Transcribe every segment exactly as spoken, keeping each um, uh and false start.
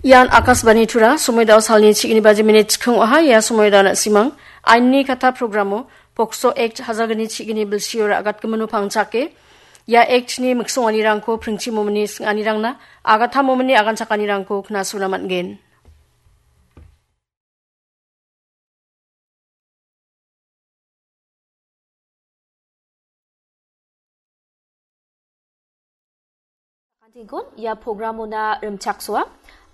Ian Akashbani Tura, somoidao salni chigni baji minit chikung oha, ia somoidao na simang. Ainni kata programo, Pokso Act hajalgni chigni bilsio ra agatgimino pangchake. Ia Act ni miksonganirangko pringchi momini singanirangna, agata momini aganchakanirangko knasuna man·gen. Kantigon, ia programona rimchaksoa.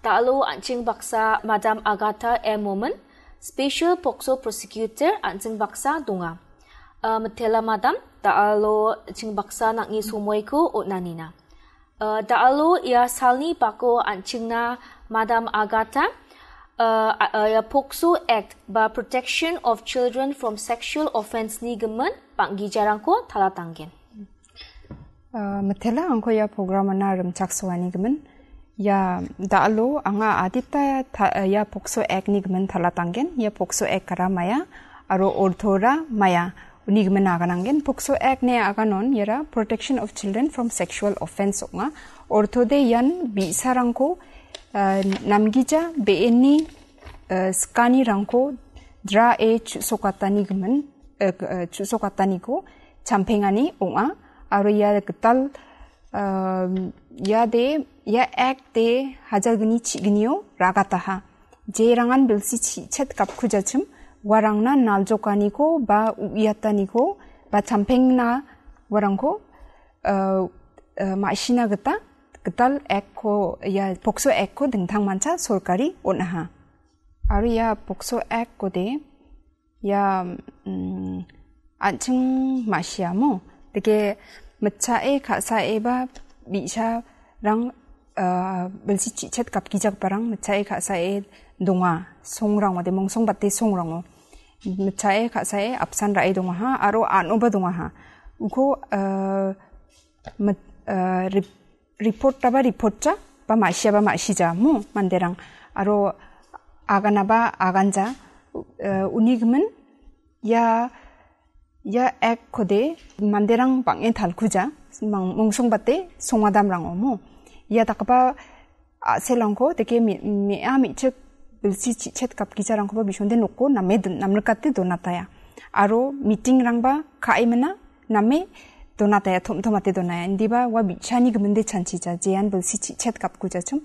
Da·alo an·ching baksa Madam Agatha M Momin, Special Pokso Prosecutor an·ching baksa donga. Uh, Mitela Madam, da·alo an·ching baksa nang·ni somoiko on·anina. Uh, da·alo ia salni bako an·chingna Madam Agatha, uh, uh, ia Pokso Act ba Protection of Children from Sexual Offence ni gimin bang·gijarangko talatanggen. Uh, Mitela angko ia programana rimchaksoani gimin. Ia da·alo anga adita ta-, ia Pokso Act ni gimin talatanggen. Ia Pokso Act ara maya, aro ortora maya. Uni gimin agananggen. Pokso Act ni aganon iara Protection of Children from Sexual Offence ong·a. Ortode ian bi·sarangko, uh, namgija be·eni, uh, skanirangko dra·e chu·sokatani gimin, uh, uh, chu·sokataniko champengani ong·a. Aro ia gital, um, ia de, ia Act de hajalgni chignio ragataha. Jerangan bilsi chi·chet gapkujachim, uarangna naljokaniko ba u·iataniko ba champengna uarangko, uh, uh, ma·sina gita gital Act-ko, ia Pokso Act-ko dingtangmancha sorkari on·aha. Aro ia Pokso Act-kode ia, mm, an·ching ma·siamo. Dake mitchae ka·sae ba bi·sarang, ah, bilsi chi·chet gapgijagiparang mitchae ka·sae donga. Songrango de mongsongbate songrango. Mitchae ka·sae apsan ra·e dongaha aro an·oba dongaha. Uko, ah, mit-, ah, rip-, report-taba report-ja, ba ma·siaba ma·sija, mo, manderang. Aro aganaba aganja, eh, uni gimin, ia, ia Act-kode manderang bang·e talkuja, mang-, mongsongbate songadamrango, mo. Ia dakgipa a·selrangko, deke me-, me·a me·chik bilsi chi·chet gapgijarangkoba bisonde noko name don-, namrikate donataya. Aro meeting-rangba ka·e mina, name donataya, tom·tomate donaya. Indiba ua bi·sani giminde chanchija, jean bilsi chi·chet gapgujachim,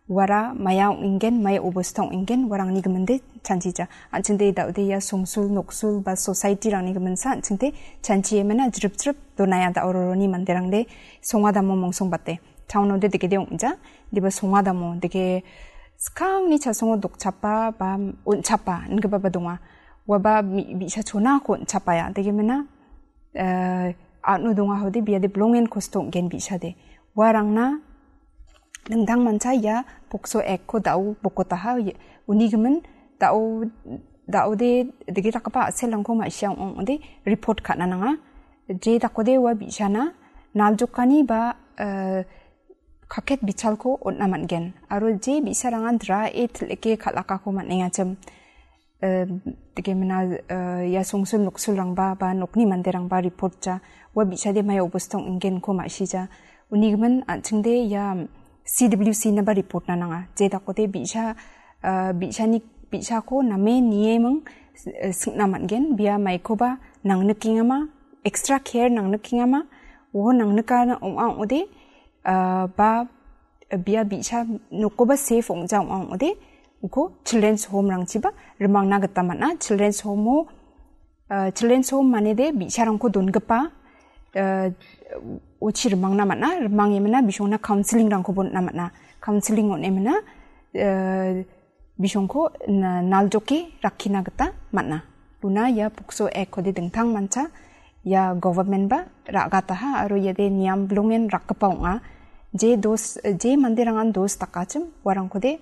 uara maya ong·ingen, maya obosta ong·ingen, uarangni giminde chanchija. An·chingde da·ode ia songsul, noksul ba society-rangni giminsa an·chingde chanchie mina jrip jrip donaya da·o roroni manderangde songadamo mongsongbate. Town-ode degede ong·ja, indiba songadamo, dege skangni chasongo dokchapa ba on·chapa ingipaba donga. Uaba mi-, bi·sa chonako on·chapaya. Dege mina, eh, a·no dongahode biade bilongen kosto ong·gen bi·sade. Uarangna dingtangmancha ia Pokso Act-ko da·o bokotaha, ia, uni gimin da·o, da·ode dege dakgipa a·selrangko ma·sia ong·ong·ode report ka·na nanga. Je dakode ua bi·sana naljokani ba, eh, kaket bichalko on·na man·gen. Aro je bi·sarangan dra·e til·eke kal·akako man·engachim. Eh, deke mina, eh, ia songsul noksulrangba ba nokni manderangba report ja. Ua bi·sade mai obosta ong·genko ma·sija. Uni gimin an·chingde ia C W C-naba report-na nanga. Je dakode bi·sa, eh, bi·sani, bi·sako name nieming, eh, singna man·gen. Bia maikoba nangnikengama, extra care nangnikengama, uo nangnika ong·a ong·ode, ah, ba bia bi·sa nokoba safe ong·ja ong·a ong·ode, uko children's home-rangchiba rimangna gita man·a. Children's home-o, ah, children's home manede bi·sarangko dongipa, ah, ochi rimangna man·a. Rimangemina bisongna counselling-rangkoba on·na man·a. Counselling on·emina, ah, bisongko na-, naljoke rakkina gita man·a. Una ia Pokso Act-kode dingtangmancha ia government-ba ra·gataha aro iade niam bilongen rakgipa ong·a. Je dos, je manderangan dos dakachim, uarangkode,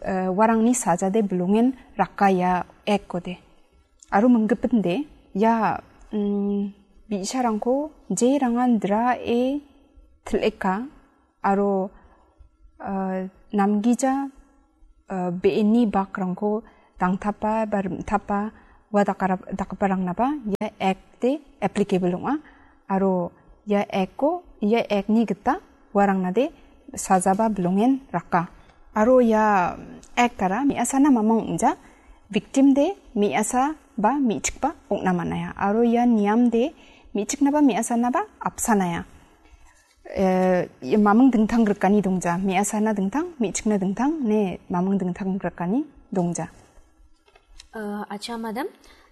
eh, uarangni sajade bilongen raka ia Act-kode. Aro minggipinde ia, mm, bi·sarangko jerangan dra·e til·eka, aro, ah, namgija, ah, be·eni bakrangko dangtapa ba rim·tapa ua dakara-, dakgiparangnaba ia Act-de applicable ong·a. Aro ia Act-ko, ia Act-ni gita uarangnade sajaba bilongen raka. Aro ia act-ara me·asana mamung ong·ja, victim de me·asa ba me·chikba ong·na man·aia. Aro ia niam de me·chiknaba me·asanaba apsanaia. Eh, ia mamung dingtang grikani dongja, me·asana dingtang, me·chikna dingtang, ne mamung dingtang grikani dongja. Uh, acha, madam,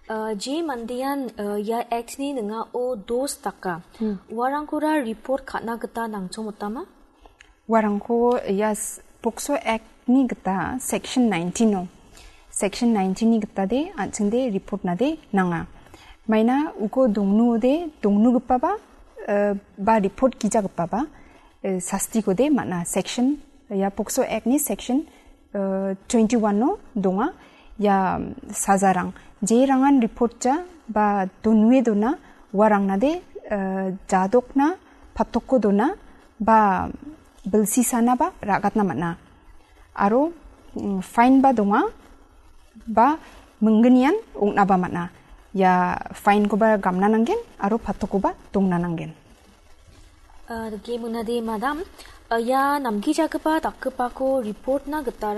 uh, je mandean, uh, ia act-ni ning·ao dos daka. Hmm. Uarangkora report ka·na gita nangchomotama? Uarangko ia s-, POCSO Act-ni gita section nineteen-o. Section nineteen-ni gita de, an·ching de report-na de nanga. Maina uko dongnu de, dongnugipaba, uh, ba report gijagipaba, uh, sastiko de man·a. Section, ia POCSO Act-ni section, uh, twenty-one-o donga. Ia sajarang. Jerangan report ja ba donue dona, uarangna de, uh, jadokna, patoko dona, ba bilsisana ba ra·gatna man·a. Aro, mm, fine ba donga, ba minggnian ong·naba man·a. Ia fine-koba gamna nanggen, aro patokoba dongna nanggen. Uh, dake monade, madam, uh, ia namgijagipa dakgipako report-na gita